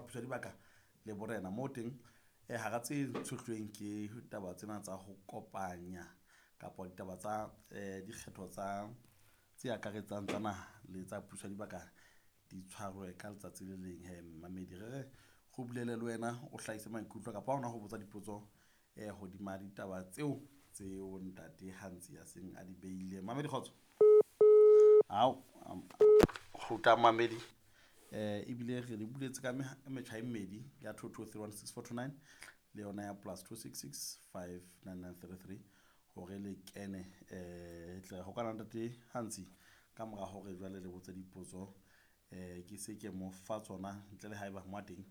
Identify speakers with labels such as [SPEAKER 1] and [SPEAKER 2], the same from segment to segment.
[SPEAKER 1] Puso ya Dibaka le Borena. Moo teng hara tse tshohlweng ke taba tsena tsa ho kopanya kapa ditaba tsa dikgetho tsa tse akaretsang tsa naha le tsa puso ya dibaka di tshwarwe ka letsatsi le leng. He mamedi, re re go bulele le wena o hlahise maikutlo kapa hona ho botsa dipotso hodima ditaba tseo tseo ntate Hantsi a seng a di beile. Mamedi, kgotso. Ao kgutla mamedi, ebile re le buletse ka metjha e mmedi ya 22316429 le yona ya plus 26659933 hore le kene. Tle ho kana ntate Hantsi ka mora hore jwale le botse dipotso, ke se ke mo fa tsona ntle le haeba mo teng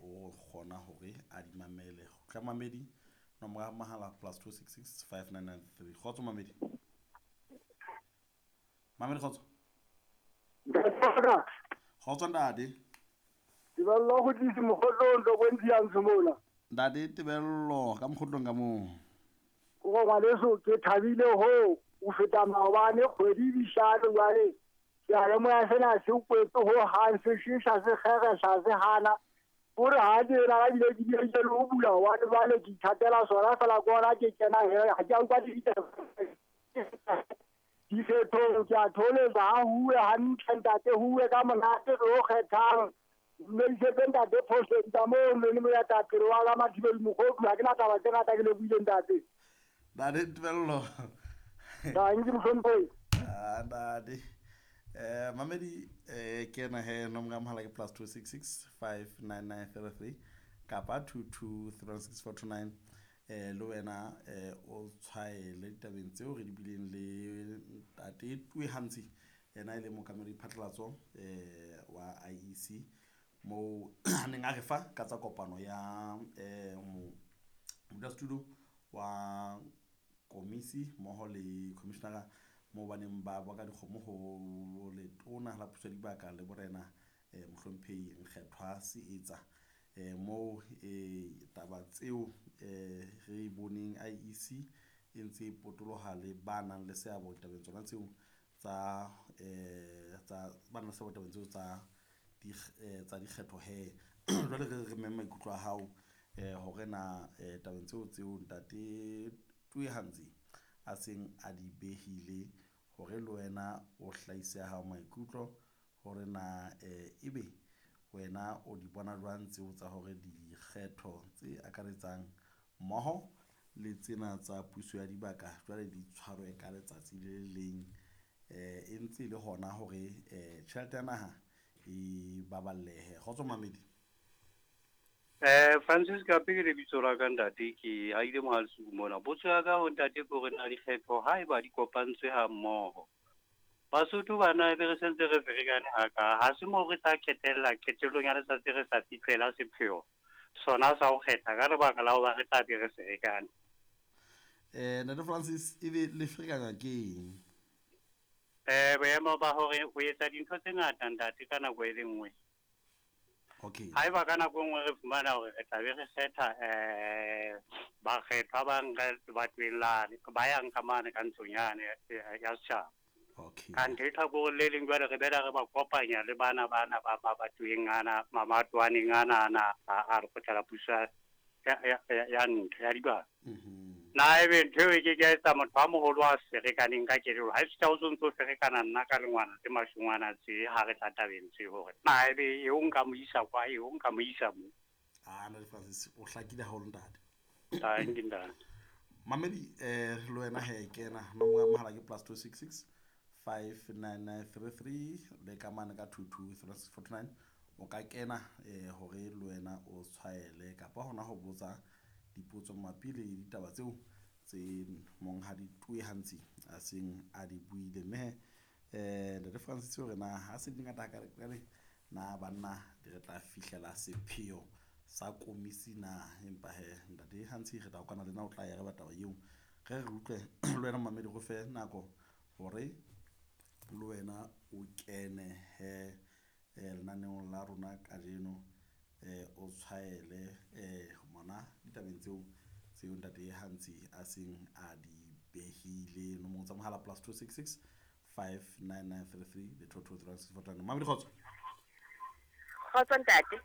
[SPEAKER 1] o kgona hore a di mamele. Kgutla mamedi, nomoro ya mahala plus 2665993. Kgotso mamedi. Mamedi, kgotso. Kgotso ntate.
[SPEAKER 2] Tebello go tlise mogotlong to bontsi ya ntsho mola.
[SPEAKER 1] Ntate Tebello ka mogotlong ka moo.
[SPEAKER 2] Go ngwaneso ke thabile ho o feta maobane kgwedi dihlano jwale. Ke a lemoha sena se kwetse ho hang se shesha se kgeresha se hana. Hore ha ke na ka bile ke bile ke lo bula wa jwale ke ithatela sona fela ke ona ke kena he ha ke a utlwa ditaba. Dikgethong ke a tholetsa ha huwe hantle ntate, huwe ka monate re o kgethang. Mme isetse ntate phosong tsa moo le mo ya tapele wa ka Mathibeli Mogodu. Ha ke na taba tse ngata ke lebohile ntate.
[SPEAKER 1] Ntate Tebello.
[SPEAKER 2] Tanki mohlomphehi.
[SPEAKER 1] Ah ntate. Mamedi, kena he nomoro ya mohala ke plus 26659933 kapa 2236429. Le wena o tshwaele ditabeng tseo re di bileng le ntate Tue Hantsi, yena e le mookamedi phatlalatso wa IEC moo a neng a re fa ka tsa kopano ya modulasetulo wa komisi mmoho le commissionera moo ba neng ba bua ka dikgomo ho letona la puso ya dibaka le borena mohlomphehi Nkgethwa Seetsa. Moo taba tseo re boneng IEC e ntse e potoloha le ba nang le seabo ditabeng tsona tseo tsa tsa ba nang le seabo ditabeng tseo tsa tsa dikgetho he. Jwale re re memme maikutlo a hao hore na tabeng tseo tseo ntate Tue Hantsi a seng a di behile hore le wena o hlahise hao maikutlo hore na ebe wena o di bona jwang tseo tsa hore dikgetho tse akaretsang mmoho le tsena tsa puso ya dibaka jwale di tshwarwe ka letsatsi le leng, e ntse e le hona hore tjhelete ya naha e baballehe. Kgotso mamedi.
[SPEAKER 3] Francis Kape ke lebitso la ka ntate, ke ahile Mohalesuku mona. Potso ya ka ho ntate ke hore na dikgetho haeba di kopantswe ha mmoho, Basotho bana ebe re sentse re ferekane haka, ha se moo re tla ketella qetellong ya letsatsi re sa fihlela sepheo sona sa ho kgetha ka lebaka la hoba re tla be re ferekane.
[SPEAKER 1] Ntate Francis, ebe le ferekana ke eng?
[SPEAKER 3] Boemo ba hore ho etsa dintho tse ngata ntate ka nako e le nngwe.
[SPEAKER 1] Okay.
[SPEAKER 3] Haeba ka nako e nngwe re fumana hore re tla be re kgetha bakgethwa ba nka batweng lane, ba yang ka mane ka ntlong yane ya setjhaba.
[SPEAKER 1] Okay.
[SPEAKER 3] Kanthe lehlakoreng le leng jwale re bela re ba kopanya le bana bana ba batweng ana, mamatwaneng ana ana a lekgotla la puso ya ntho ya dibaka. Na ebe ntho eo e ke ke ya etsa motho a moholo a ferekaneng ka kelello. Ha e fihla o sontso o ferekana nna ka lengwana tse mashungwana tse ha re tla tabeng tse hore na ebe eo nka mo isa kwa, eo nka mo isa mo.
[SPEAKER 1] Ah, Ntate Francis, o hlakile haholo ntate.
[SPEAKER 3] Thank you, ntate.
[SPEAKER 1] Mamedi, le wena he kena nomoro ya mohala ke plus 26659933 le ka mane ka 223649. O ka kena hore le wena o tshwaele kapa hona ho botsa dipotso mabapi le ditaba tseo tse monghadi Tue Hantsi a seng a di buile. Mme Ntate Francis hore na ha se di ngata hakale na banna di re tla fihlela sepheo sa komisi na, empa he ntate Hantsi re tla kwano le nna o tla ya re ba taba eo re re utlwe le wena mamedi go fe nako hore le wena o kene he lenaneong la rona kajeno, o tshwaele mona ditabeng tseo tseo ntate Hantsi a seng a di behile. Nomoro tsa mohala plus 26659933 le 223649. Mamedi, kgotso.
[SPEAKER 4] Kgotso ntate.